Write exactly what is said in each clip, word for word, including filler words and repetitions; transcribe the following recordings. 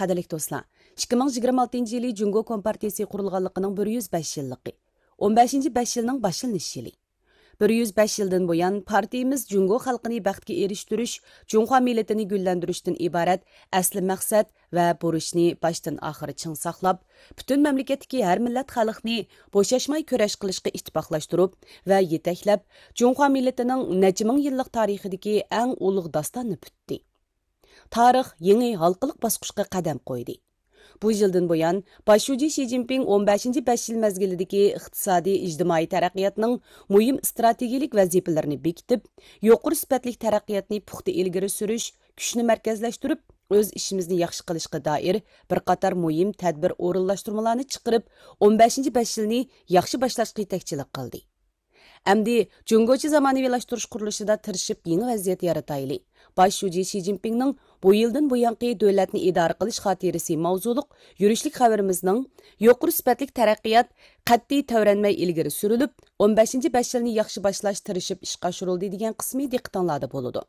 قەدىرلىك دوستلار، ئىككى مىڭ يىگىرمە ئالتىنچى يىلى جۇڭگو كومپارتىيىسى قۇرۇلغانلىقىنىڭ بىر يۈز بەش يىللىقى، ئون بەشىنچى بەش يىلنىڭ باشلىنىش يىلى. بىر يۈز بەش يىلدىن بۇيان، پارتىيىمىز جۇڭگو خەلقىنى بەختكە ئېرىشتۈرۈش، جۇڭخۇا مىللىتىنى گۈللەندۈرۈشتىن ئىبارەت ئەسلى مەقسەت ۋە بۇرچنى باشتىن ئاخىر چىڭ ساقلاپ، پۈتۈن مەملىكەتتىكى ھەر مىللەت خەلقنى بوشاشماي كۈرەش قىلىشقا ئىتتىپاقلاشتۇرۇپ ۋە يېتەكلەپ، جۇڭخۇا مىللىتىنىڭ نەچچە مىڭ يىللىق تارىخىدىكى ئەڭ ئۇلۇغ داستاننى پۈتتى. تارىخ يېڭى ھالقىلىق باسقۇچقا قەدەم قويدى. بۇ يىلدىن بۇيان، باش شۇجى شى جىنپىڭ ئون بەشىنچى بەش يىل مەزگىلىدىكى ئىقتىسادىي، ئىجتىمائىي تەرەققىياتنىڭ مۇھىم ئىستراتېگىيىلىك ۋەزىپىلىرىنى بېكىتىپ، يۇقىرى سۈپەتلىك تەرەققىياتنى پۇختا ئىلگىرى سۈرۈش، كۈچنى مەركەزلەشتۈرۈپ، ئۆز ئىشىمىزنى ياخشى قىلىشقا دائىر بىر قاتار مۇھىم تەدبىر ئورۇنلاشتۇرمىلارنى چىقىرىپ، ئون بەشىنچى بەش يىلنى ياخشى باشلاشقا يېتەكچىلىك قىلدى. ئەمدى جۇڭگوچە زامانىۋىلاشتۇرۇش قۇرۇلۇشىدا تىرىشىپ يېڭى ۋەزىيەت يارىتايلى. باش شۇجى شى جىنپىڭنىڭ بۇ يىلدىن بۇيانقى دۆلەتنى ئىدارە قىلىش خاتىرىسى ماۋزۇلۇق يۈرۈشلۈك خەۋىرىمىزنىڭ يۇقىرى سۈپەتلىك تەرەققىيات قەتئىي تەۋرەنمەي ئىلگىرى سۈرۈلۈپ، ئون بەشىنچى بەش يىلنى ياخشى باشلاش تىرىشىپ ئىشقا ئاشۇرۇلدى دېگەن قىسمى دىققىتىڭلاردا بولىدۇ.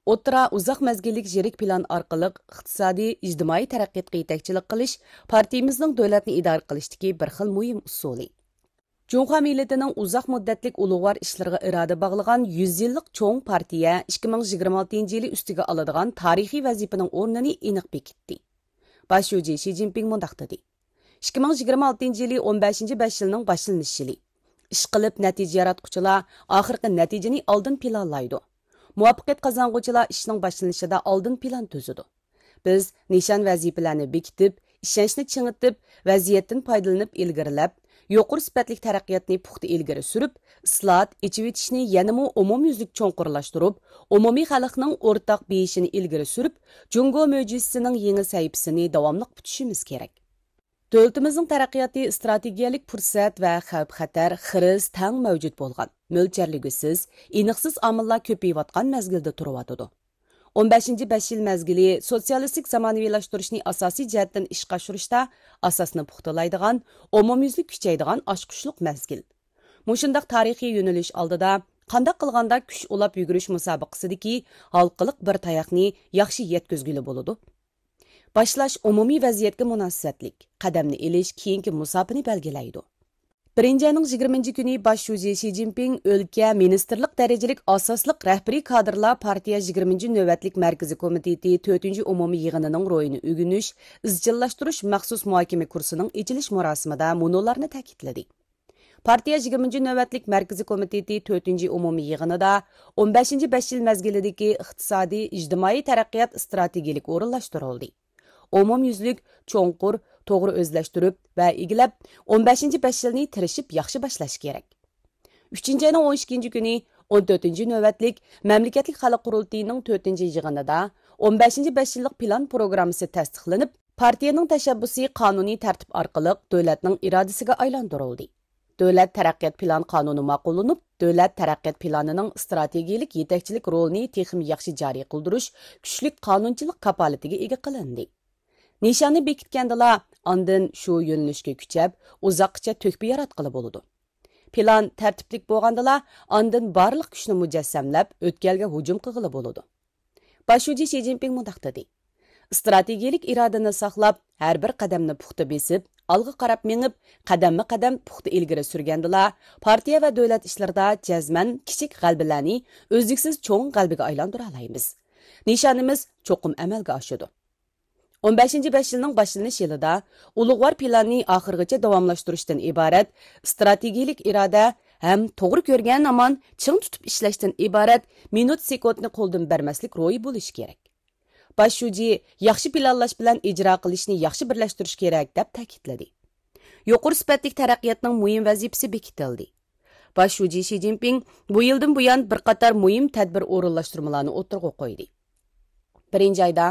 ئوتتۇرا، ئۇزاق مەزگىللىك يىرىك پىلان ئارقىلىق ئىقتىسادىي، ئىجتىمائىي تەرەققىياتقا يېتەكچىلىك قىلىش پارتىيىمىزنىڭ دۆلەتنى ئىدارە قىلىشتىكى بىر خىل مۇھىم ئۇسۇلى. جۇڭخۇا مىللىتىنىڭ ئۇزاق مۇددەتلىك ئۇلۇغۋار ئىشلىرىغا ئىرادە باغلىغان يۈز يىللىق چوڭ پارتىيە ئىككى مىڭ يىگىرمە ئالتىنچى يىلى ئۈستىگە ئالىدىغان تارىخىي ۋەزىپىنىڭ ئورنىنى ئېنىق بېكىتتى. باش شۇجى شى جىنپىڭ مۇنداق دېدى: «ئىككى مىڭ يىگىرمە ئالتىنچى يىلى ئون بەشىنچى بەش يىلنىڭ باشلىنىش يىلى. ئىشقىلىپ، نەتىجە ياراتقۇچىلار ئاخىرقى نەتىجىنى ئالدىن پىلانلايدۇ. مۇۋەپپەقىيەت قازانغۇچىلار ئىشنىڭ باشلىنىشىدا ئالدىن پىلان تۈزىدۇ.» بىز نىشان ۋەزىپىلەرنى بېكىتىپ، ئىشەنچنى چىڭىتىپ، ۋەزىيەتتىن پايدىلىنىپ ئىلگىرىلەپ، يۇقىرى سۈپەتلىك تەرەققىياتنى پۇختا ئىلگىرى سۈرۈپ، ئىسلاھات، ئېچىۋېتىشنى يەنىمۇ ئومۇميۈزلۈك چوڭقۇرلاشتۇرۇپ، ئومۇمىي خەلقنىڭ ئورتاق بېيىشىنى ئىلگىرى سۈرۈپ، جۇڭگو مۆجىزىسىنىڭ يېڭى سەھىپىسىنى داۋاملىق پۈتۈشىمىز كېرەك. دۆلىتىمىزنىڭ تەرەققىياتى ئىستراتېگىيەلىك پۇرسەت ۋە خەۋپ-خەتەر، خىرىس تەڭ مەۋجۇت بولغان، مۆلچەرلىگۈسىز، ئېنىقسىز ئامىللار كۆپىيىۋاتقان مەزگىلدە تۇرۇۋاتىدۇ. ئون بەشىنچى بەش يىل مەزگىلى سوتسىيالىستىك زامانىۋىلاشتۇرۇشنى ئاساسىي جەھەتتىن ئىشقا ئاشۇرۇشتا ئاساسنى پۇختىلايدىغان، ئومۇميۈزلۈك كۈچەيدىغان ئاچقۇچلۇق مەزگىل. مۇشۇنداق تارىخىي يۆنىلىش ئالدىدا قانداق قىلغاندا كۈچ ئۇلاپ يۈگۈرۈش مۇسابىقىسىدىكى ھالقىلىق بىر تاياقنى ياخشى يەتكۈزگىلى بولىدۇ؟ باشلاش ئومۇمىي ۋەزىيەتكە مۇناسىۋەتلىك، قەدەمنى ئېلىش كېيىنكى مۇساپىنى بەلگىلەيدۇ. بىرىنچى ئاينىڭ يىگىرمىنچى كۈنى باش شۇجى شى جىنپىڭ ئۆلكە مىنىستىرلىق دەرىجىلىك ئاساسلىق رەھبىرىي كادىرلار پارتىيە يىگىرمىنچى نۆۋەتلىك مەركىزىي كومىتېتى تۆتىنچى ئومۇمىي يىغىنىنىڭ روھىنى ئۆگىنىش، ئىزچىللاشتۇرۇش مەخسۇس مۇھاكىمە كۇرسىنىڭ ئېچىلىش مۇراسىمىدا مۇنۇلارنى تەكىتلىدى. پارتىيە يىگىرمىنچى نۆۋەتلىك مەركىزىي كومىتېتى تۆتىنچى ئومۇمىي يىغىنىدا ئون بەشىنچى بەش يىل مەزگىلىدىكى ئىقتىسادىي، ئىجتىمائىي تەرەققىيات ئىستراتېگىيىلىك ئورۇنلاشتۇرۇلدى. ئومۇميۈزلۈك، چوڭقۇر، توغرا ئۆزلەشتۈرۈپ ۋە ئىگىلەپ، ئون بەشىنچى بەش يىلنى تىرىشىپ ياخشى باشلاش كېرەك. ئۈچىنچى ئاينىڭ ئون ئىككىنچى كۈنى ئون تۆتىنچى نۆۋەتلىك مەملىكەتلىك خەلق قۇرۇلتىيىنىڭ تۆتىنچى يىغىنىدا ئون بەشىنچى بەش يىللىق پىلان پروگراممىسى تەستىقلىنىپ، پارتىيەنىڭ تەشەببۇسى قانۇنىي تەرتىپ ئارقىلىق دۆلەتنىڭ ئىرادىسىگە ئايلاندۇرۇلدى. دۆلەت تەرەققىيات پىلان قانۇنى ماقۇللىنىپ، دۆلەت تەرەققىيات پىلانىنىڭ ئىستراتېگىيىلىك يېتەكچىلىك رولىنى تېخىمۇ ياخشى جارى قىلدۇرۇش كۈچلۈك قانۇنچىلىق كاپالىتىگە ئىگە قىلىندى. نىشاننى بېكىتكەندىلا، ئاندىن شۇ يۆنىلىشكە كۈچەپ، ئۇزاققىچە تۆھپە ياراتقىلى بولىدۇ. پىلان تەرتىپلىك بولغاندىلا، ئاندىن بارلىق كۈچنى مۇجەسسەملەپ، ئۆتكەلگە ھۇجۇم قىلغىلى بولىدۇ. باش شۇجى شى جىنپىڭ مۇنداق دېدى: «ئىستراتېگىيىلىك ئىرادىنى ساقلاپ، ھەر بىر قەدەمنى پۇختا بېسىپ، ئالغا قاراپ مېڭىپ، قەدەممۇ قەدەم پۇختا ئىلگىرى سۈرگەندىلا، پارتىيە ۋە دۆلەت ئىشلىرىدا جەزمەن كىچىك غەلىبىلەرنى ئۈزلۈكسىز چوڭ غەلىبىگە ئايلاندۇرالايمىز. نىشانىمىز چوقۇم ئەمەلگە ئاشىدۇ.» ئون بەشىنچى بەش يىلنىڭ باشلىنىش يىلىدا ئۇلۇغۋار پىلاننى ئاخىرغىچە داۋاملاشتۇرۇشتىن ئىبارەت ئىستراتېگىيىلىك ئىرادە ھەم توغرا كۆرگەن ھامان چىڭ تۇتۇپ ئىشلەشتىن ئىبارەت مىنۇت سېكۇنتنى قولدىن بەرمەسلىك روھى بولۇشى كېرەك. باش شۇجى ياخشى پىلانلاش بىلەن ئىجرا قىلىشنى ياخشى بىرلەشتۈرۈش كېرەك، دەپ تەكىتلىدى. يۇقىرى سۈپەتلىك تەرەققىياتنىڭ مۇھىم ۋەزىپىسى بېكىتىلدى. باش شۇجى شى جىنپىڭ بۇ يىلدىن بۇيان بىر قاتار مۇھىم تەدبىر ئورۇنلاشتۇرمىلارنى ئوتتۇرىغا قويدى. بىرىنچى ئايدا،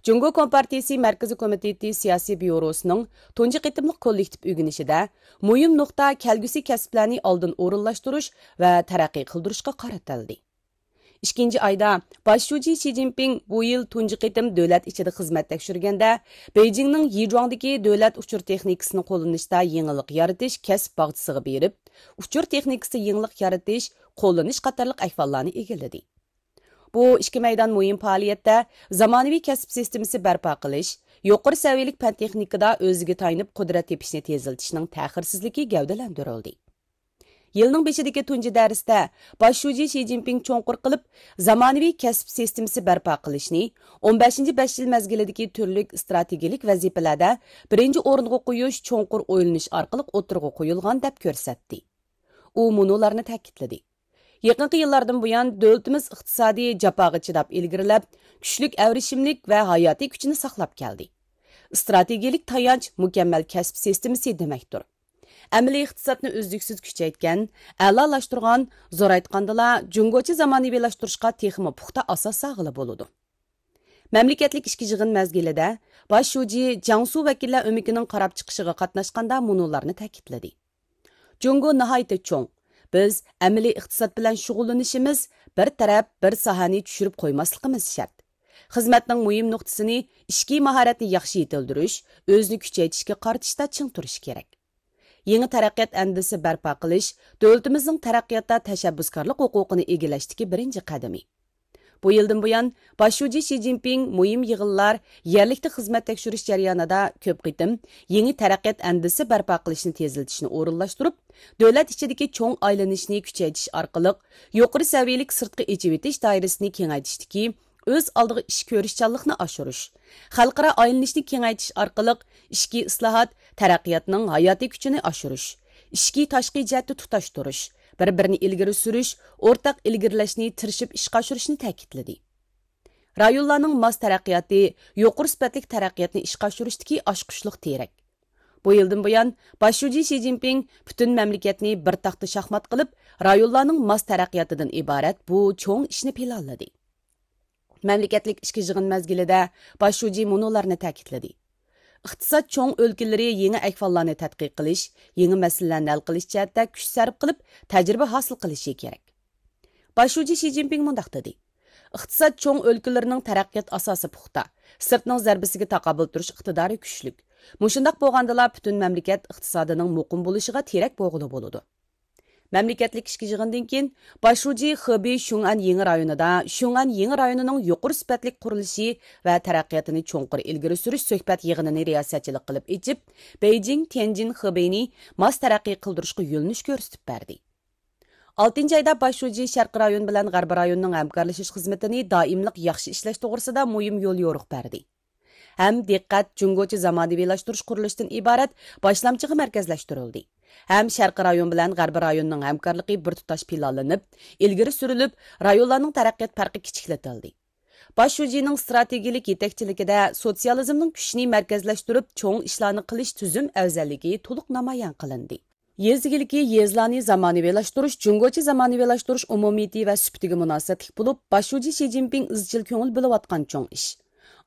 جۇڭگو كومپارتىيىسى مەركىزىي كومىتېتى سىياسىي بيۇروسىنىڭ تۇنجى قېتىملىق كوللېكتىپ ئۆگىنىشىدە مۇھىم نۇقتا كەلگۈسى كەسىپلەرنى ئالدىن ئورۇنلاشتۇرۇش ۋە تەرەققىي قىلدۇرۇشقا قارىتىلدى. ئىككىنچى ئايدا، باش شۇجى شى جىنپىڭ بۇ يىل تۇنجى قېتىم دۆلەت ئىچىدە خىزمەت تەكشۈرگەندە، بېيجىڭنىڭ يىجۇاڭدىكى دۆلەت ئۇچۇر تېخنىكىسىنى قوللىنىشتا يېڭىلىق يارىتىش كەسىپ باغچىسىغا بېرىپ، ئۇچۇر تېخنىكىسىدا يېڭىلىق يارىتىش، قوللىنىش قاتارلىق ئەھۋاللارنى ئىگىلىدى. بۇ ئىككى مەيدان مۇھىم پائالىيەتتە زامانىۋى كەسىپ سىستېمىسى بەرپا قىلىش، يۇقىرى سەۋىيەلىك پەن تېخنىكىدا ئۆزىگە تايىنىپ قۇدرەت تېپىشنى تېزلىتىشنىڭ تەخىرسىزلىكى گەۋدىلەندۈرۈلدى. يىلنىڭ بېشىدىكى تۇنجى دەرستە باش شۇجى شى جىنپىڭ چوڭقۇر قىلىپ زامانىۋى كەسىپ سىستېمىسى بەرپا قىلىشنى، ئون بەشىنچى بەش يىل مەزگىلىدىكى تۈرلۈك ئىستراتېگىيىلىك ۋەزىپىلەردە بىرىنچى ئورۇنغا قويۇش چوڭقۇر ئويلىنىش ئارقىلىق ئوتتۇرىغا قويۇلغان دەپ كۆرسەتتى. ئۇ مۇنۇلارنى تەكىتلىدى. يېقىنقى يىللاردىن بۇيان دۆلىتىمىز ئىقتىسادىي جاپاغا چىداپ ئىلگىرىلەپ، كۈچلۈك ئەۋرىشىملىك ۋە ھاياتىي كۈچىنى ساقلاپ كەلدى. ئىستراتېگىيىلىك تايانچ مۇكەممەل كەسىپ سىستېمىسى دېمەكتۇر. ئەمەلىي ئىقتىسادنى ئۈزلۈكسىز كۈچەيتكەن، ئەلالاشتۇرغان، زورايتقاندىلا، جۇڭگوچە زامانىۋىلاشتۇرۇشقا تېخىمۇ پۇختا ئاساس سالغىلى بولىدۇ. مەملىكەتلىك ئىچكى يىغىن مەزگىلىدە باش شۇجى جياڭسۇ ۋەكىللەر ئۆمىكىنىڭ قاراپ چىقىشىغا قاتناشقاندا مۇنۇلارنى تەكىتلىدى. جۇڭگو ناھايىتى چوڭ. بىز ئەمەلىي ئىقتىساد بىلەن شۇغۇللىنىشىمىز بىر تەرەپ، بىر ساھەنى چۈشۈرۈپ قويماسلىقىمىز شەرت. خىزمەتنىڭ مۇھىم نۇقتىسىنى ئىچكى ماھارەتنى ياخشى يېتىلدۈرۈش، ئۆزىنى كۈچەيتىشكە قارىتىشتا چىڭ تۇرۇش كېرەك. يېڭى تەرەققىيات ئەندىزىسى بەرپا قىلىش دۆلىتىمىزنىڭ تەرەققىياتتا تەشەببۇسكارلىق ھوقۇقىنى ئىگىلەشتىكى بىرىنچى قەدىمى. بۇ يىلدىن بۇيان، باش شۇجى شى جىنپىڭ مۇھىم يىغىنلار، يەرلىكتە خىزمەت تەكشۈرۈش جەريانىدا كۆپ قېتىم يېڭى تەرەققىيات ئەندىزىسى بەرپا قىلىشنى تېزلىتىشنى ئورۇنلاشتۇرۇپ، دۆلەت ئىچىدىكى چوڭ ئايلىنىشنى كۈچەيتىش ئارقىلىق، يۇقىرى سەۋىيەلىك سىرتقا ئېچىۋېتىش دائىرىسىنى كېڭەيتىشتىكى ئۆز ئالدىغا ئىش كۆرۈشچانلىقنى ئاشۇرۇش، خەلقئارا ئايلىنىشنى كېڭەيتىش ئارقىلىق ئىچكى ئىسلاھات، تەرەققىياتنىڭ ھاياتىي كۈچىنى ئاشۇرۇش، ئىچكى تاشقى جەھەتتە تۇتاشتۇرۇش، بىر-بىرىنى ئىلگىرى سۈرۈش، ئورتاق ئىلگىرىلەشنى تىرىشىپ ئىشقا ئاشۇرۇشنى تەكىتلىدى. رايونلارنىڭ ماس تەرەققىياتى، يۇقىرى سۈپەتلىك تەرەققىياتنى ئىشقا ئاشۇرۇشتىكى ئاچقۇچلۇق تىرەك. بۇ يىلدىن بۇيان، باش شۇجى شى جىنپىڭ پۈتۈن مەملىكەتنى بىر تاختا شاھمات قىلىپ، رايونلارنىڭ ماس تەرەققىياتىدىن ئىبارەت بۇ چوڭ ئىشنى پىلانلىدى. مەملىكەتلىك ئىچكى يىغىن مەزگىلىدە باش شۇجى مۇنۇلارنى تەكىتلىدى: ئىقتىساد چوڭ ئۆلكىلىرى يېڭى ئەھۋاللارنى تەتقىق قىلىش، يېڭى مەسىلىلەرنى ھەل قىلىش جەھەتتە كۈچ سەرپ قىلىپ، تەجرىبە ھاسىل قىلىشى كېرەك. باش شۇجى شى جىنپىڭ مۇنداق دېدى: ئىقتىساد چوڭ ئۆلكىلىرىنىڭ تەرەققىيات ئاساسى پۇختا، سىرتنىڭ زەربىسىگە تاقابىل تۇرۇش ئىقتىدارى كۈچلۈك. مۇشۇنداق بولغاندىلا، پۈتۈن مەملىكەت ئىقتىسادىنىڭ مۇقىم بولۇشىغا تىرەك بولغىلى بولىدۇ. مەملىكەتلىك ئىچكى يىغىندىن كېيىن، باش شۇجى خېبېي شۇڭئەن يېڭى رايونىدا شۇڭئەن يېڭى رايونىنىڭ يۇقىرى سۈپەتلىك قۇرۇلۇشى ۋە تەرەققىياتىنى چوڭقۇر ئىلگىرى سۈرۈش سۆھبەت يىغىنىنى رىياسەتچىلىك قىلىپ ئېچىپ، بېيجىڭ، تيەنجىن، خېبېينى ماس تەرەققىي قىلدۇرۇشقا يۆنىلىش كۆرسىتىپ بەردى. ئالتىنچى ئايدا باش شۇجى شەرقىي رايون بىلەن غەربىي رايوننىڭ ھەمكارلىشىش خىزمىتىنى دائىملىق ياخشى ئىشلەش توغرىسىدا مۇھىم يوليورۇق بەردى. ھەم دىققەت جۇڭگوچە زامانىۋىلاشتۇرۇش قۇرۇلۇشىدىن ئىبارەت باشلامچىغا مەركەزلەشتۈرۈلدى. ھەم شەرقىي رايون بىلەن غەربىي رايوننىڭ ھەمكارلىقى بىر تۇتاش پىلانلىنىپ، ئىلگىرى سۈرۈلۈپ، رايونلارنىڭ تەرەققىيات پەرقى كىچىكلىتىلدى. باش شۇجىنىڭ ئىستراتېگىيىلىك يېتەكچىلىكىدە سوتسىيالىزمنىڭ كۈچىنى مەركەزلەشتۈرۈپ، چوڭ ئىشلارنى قىلىش تۈزۈم ئەۋزەللىكى تولۇق نامايان قىلىندى. يېزا ئىگىلىكى، يېزىلارنى زامانىۋىلاشتۇرۇش جۇڭگوچە زامانىۋىلاشتۇرۇش ئومۇمىيىتى ۋە سۈپىتىگە مۇناسىۋەتلىك بولۇپ، باش شۇجى شى جىنپىڭ ئىزچىل كۆڭۈل بۆلۈۋاتقان چوڭ ئىش.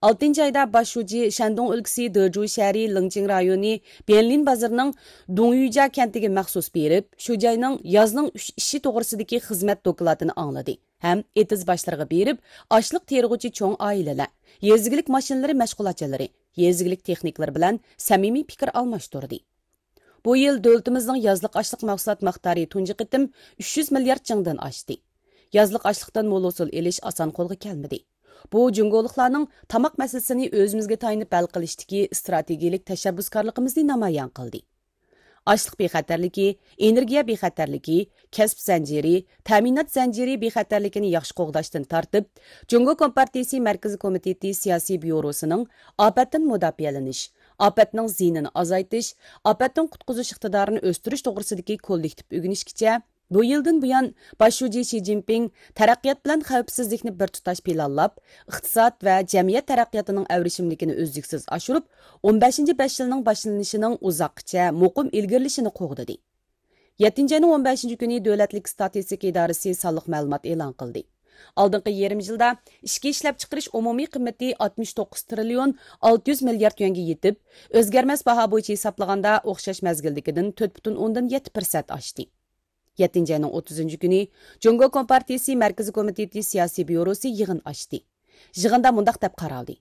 ئالتىنچى ئايدا باش شۇجى شەندۇڭ ئۆلكىسى دېجۇ شەھىرى لىڭچىڭ رايونى بيەنلىن بازىرىنىڭ دۇڭيۈجيا كەنتىگە مەخسۇس بېرىپ، شۇ جاينىڭ يازنىڭ ئۈچ ئىشى توغرىسىدىكى خىزمەت دوكلاتىنى ئاڭلىدى ھەم ئېتىز باشلىرىغا بېرىپ، ئاشلىق تېرىغۇچى چوڭ ئائىلىلەر، يېزا ئىگىلىك ماشىنىلىرى مەشغۇلاتچىلىرى، يېزا ئىگىلىك تېخنىكلىرى بىلەن سەمىمىي پىكىر ئالماشتۇردى. بۇ يىل دۆلىتىمىزنىڭ يازلىق ئاشلىق مەھسۇلات مىقدارى تۇنجى قېتىم ئۈچ يۈز مىليارد چىڭدىن ئاشتى. يازلىق ئاشلىقتىن مول ھوسۇل ئېلىش ئاسان قولغا كەلمىدى. بۇ جۇڭگولۇقلارنىڭ تاماق مەسىلىسىنى ئۆزىمىزگە تايىنىپ ھەل قىلىشتىكى ئىستراتېگىيىلىك تەشەببۇسكارلىقىمىزنى نامايان قىلدى. ئاشلىق بىخەتەرلىكى، ئېنېرگىيە بىخەتەرلىكى، كەسىپ زەنجىرى، تەمىنات زەنجىرى بىخەتەرلىكىنى ياخشى قوغداشتىن تارتىپ، جۇڭگو كومپارتىيىسى مەركىزىي كومىتېتى سىياسىي بيۇروسىنىڭ ئاپەتتىن مۇداپىئەلىنىش، ئاپەتنىڭ زىيىنىنى ئازايتىش، ئاپەتتىن قۇتقۇزۇش ئىقتىدارىنى ئۆستۈرۈش توغرىسىدىكى كوللېكتىپ ئۆگىنىشكىچە، بۇ يىلدىن بۇيان، باش شۇجى شى جىنپىڭ تەرەققىيات بىلەن خەۋپسىزلىكنى بىر تۇتاش پىلانلاپ، ئىقتىساد ۋە جەمئىيەت تەرەققىياتىنىڭ ئەۋرىشىملىكىنى ئۈزلۈكسىز ئاشۇرۇپ، ئون بەشىنچى بەش يىلنىڭ باشلىنىشىنىڭ ئۇزاققىچە مۇقىم ئىلگىرىلىشىنى قوغدىدى. يەتتىنچى ئاينىڭ ئون بەشىنچى كۈنى دۆلەتلىك ئىستاتىستىكا ئىدارىسى سانلىق مەلۇمات ئېلان قىلدى. ئالدىنقى يېرىم يىلدا ئىچكى ئىشلەپچىقىرىش ئومۇمىي قىممىتى ئاتمىش توققۇز تىرىليون ئالتە يۈز مىليارد يۈەنگە يېتىپ، ئۆزگەرمەس باھا بويىچە ھېسابلىغاندا ئوخشاش مەزگىلدىكىدىن تۆت پۈتۈن ئوندىن يەتتە پىرسەنت ئاشتى. يەتتىنچى ئاينىڭ ئوتتۇزىنچى كۈنى جۇڭگو كومپارتىيىسى مەركىزىي كومىتېتى سىياسىي بيۇروسى يىغىن ئاچتى. يىغىندا مۇنداق دەپ قارالدى: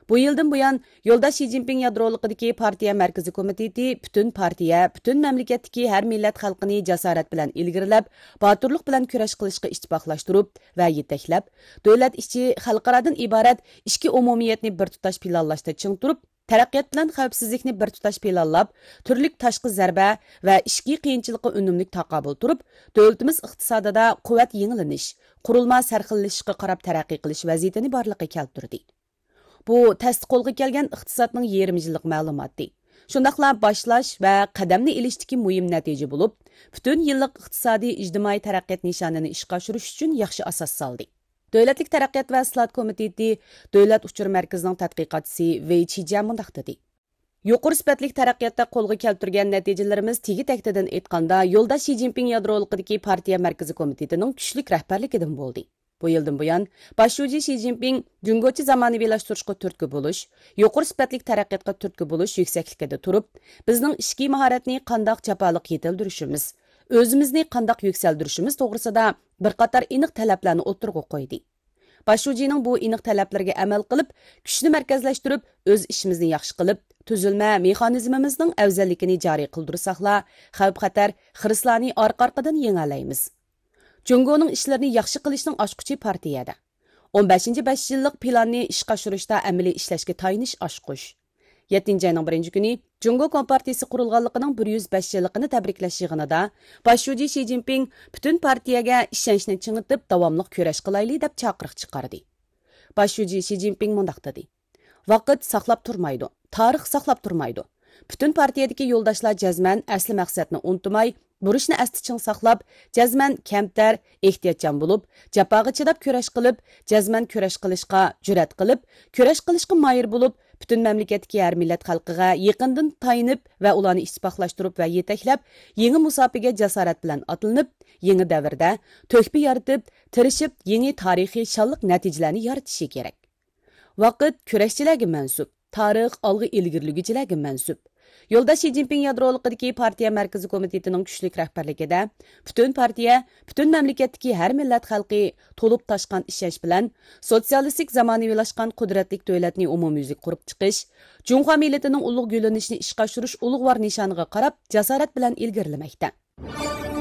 بۇ يىلدىن بۇيان، يولداش شى جىنپىڭ يادرولۇقىدىكى پارتىيە مەركىزىي كومىتېتى پۈتۈن پارتىيە، پۈتۈن مەملىكەتتىكى ھەر مىللەت خەلقىنى جاسارەت بىلەن ئىلگىرىلەپ، باتۇرلۇق بىلەن كۈرەش قىلىشقا ئىتتىپاقلاشتۇرۇپ ۋە يېتەكلەپ، دۆلەت ئىچى، خەلقئارادىن ئىبارەت ئىچكى ئومۇمىيەتنى بىر تۇتاش پىلانلاشتا چىڭ تۇرۇپ، تەرەققىيات بىلەن خەۋپسىزلىكنى بىر تۇتاش پىلانلاپ، تۈرلۈك تاشقى زەربە ۋە ئىچكى قىيىنچىلىققا ئۈنۈملۈك تاقابىل تۇرۇپ، دۆلىتىمىز ئىقتىسادىدا قۇۋۋەت يېڭىلىنىش، قۇرۇلما سەرخىللىشىشقا قاراپ تەرەققىي قىلىش ۋەزىيىتىنى بارلىققا كەلتۈردى. بۇ تەستە قولغا كەلگەن ئىقتىسادنىڭ يېرىم يىللىق مەلۇماتى، شۇنداقلا باشلاش ۋە قەدەمنى ئېلىشتىكى مۇھىم نەتىجە بولۇپ، پۈتۈن يىللىق ئىقتىسادىي ئىجتىمائىي تەرەققىيات نىشانىنى ئىشقا ئاشۇرۇش ئۈچۈن ياخشى ئاساس سالدى. دۆلەتلىك تەرەققىيات ۋە ئىسلاھات كومىتېتى دۆلەت ئۇچۇر مەركىزىنىڭ تەتقىقاتچىسى ۋېي چىجيا مۇنداق دېدى: يۇقىرى سۈپەتلىك تەرەققىياتتا قولغا كەلتۈرگەن نەتىجىلىرىمىز تېگى تەكتىدىن ئېيتقاندا، يولداش شى جىنپىڭ يادرولۇقىدىكى پارتىيە مەركىزىي كومىتېتىنىڭ كۈچلۈك رەھبەرلىكىدىن بولدى. بۇ يىلدىن بۇيان، باش شۇجى شى جىنپىڭ جۇڭگوچە زامانىۋىلاشتۇرۇشقا تۈرتكە بولۇش، يۇقىرى سۈپەتلىك تەرەققىياتقا تۈرتكە بولۇش يۈكسەكلىكىدە تۇرۇپ، بىزنىڭ ئىچكى ماھارەتنى قانداق جاپالىق يېتىلدۈرۈشىمىز، ئۆزىمىزنى قانداق يۈكسەلدۈرۈشىمىز توغرىسىدا بىر قاتار ئېنىق تەلەپلەرنى ئوتتۇرىغا قويدى. باش شۇجىنىڭ بۇ ئېنىق تەلەپلىرىگە ئەمەل قىلىپ، كۈچنى مەركەزلەشتۈرۈپ، ئۆز ئىشىمىزنى ياخشى قىلىپ، تۈزۈلمە مېخانىزمىمىزنىڭ ئەۋزەللىكىنى جارى قىلدۇرساقلا، خەۋپ-خەتەر، خىرىسلارنى ئارقا-ئارقىدىن يېڭەلەيمىز. جۇڭگونىڭ ئىشلىرىنى ياخشى قىلىشنىڭ ئاچقۇچى پارتىيەدە. ئون بەشىنچى بەش يىللىق پىلاننى ئىشقا ئاشۇرۇشتا ئەمەلىي ئىشلەشكە تايىنىش ئاچقۇچ. يەتتىنچى ئاينىڭ بىرىنچى كۈنى جۇڭگو كومپارتىيىسى قۇرۇلغانلىقىنىڭ بىر يۈز بەش يىللىقىنى تەبرىكلەش يىغىنىدا باش شۇجى شى جىنپىڭ پۈتۈن پارتىيەگە ئىشەنچنى چىڭىتىپ، داۋاملىق كۈرەش قىلايلى، دەپ چاقىرىق چىقاردى. باش شۇجى شى جىنپىڭ مۇنداق دېدى: ۋاقىت ساقلاپ تۇرمايدۇ، تارىخ ساقلاپ تۇرمايدۇ. پۈتۈن پارتىيەدىكى يولداشلار جەزمەن ئەسلى مەقسەتنى ئۇنتۇماي، بۇرچنى ئەستە چىڭ ساقلاپ، جەزمەن كەمتەر، ئېھتىياتچان بولۇپ، جاپاغا چىداپ كۈرەش قىلىپ، جەزمەن كۈرەش قىلىشقا جۈرئەت قىلىپ، كۈرەش قىلىشقا ماھىر بولۇپ، پۈتۈن مەملىكەتتىكى ھەر مىللەت خەلقىگە يېقىندىن تايىنىپ ۋە ئۇلارنى ئىتتىپاقلاشتۇرۇپ ۋە يېتەكلەپ، يېڭى مۇساپىگە جاسارەت بىلەن ئاتلىنىپ، يېڭى دەۋردە تۆھپە يارىتىپ، تىرىشىپ، يېڭى تارىخىي شانلىق نەتىجىلەرنى يارىتىشى كېرەك. ۋاقىت كۈرەشچىلەرگە مەنسۇپ، تارىخ ئالغا ئىلگىرىلىگۈچىلەرگە مەنسۇپ. يولداش شى جىنپىڭ يادرولۇقىدىكى پارتىيە مەركىزىي كومىتېتىنىڭ كۈچلۈك رەھبەرلىكىدە، پۈتۈن پارتىيە، پۈتۈن مەملىكەتتىكى ھەر مىللەت خەلقى تولۇپ تاشقان ئىشەنچ بىلەن سوتسىيالىستىك زامانىۋىلاشقان قۇدرەتلىك دۆلەتنى ئومۇميۈزلۈك قۇرۇپ چىقىش، جۇڭخۇا مىللىتىنىڭ ئۇلۇغ گۈللىنىشىنى ئىشقا ئاشۇرۇش ئۇلۇغۋار نىشانىغا قاراپ، جاسارەت بىلەن ئىلگىرىلىمەكتە.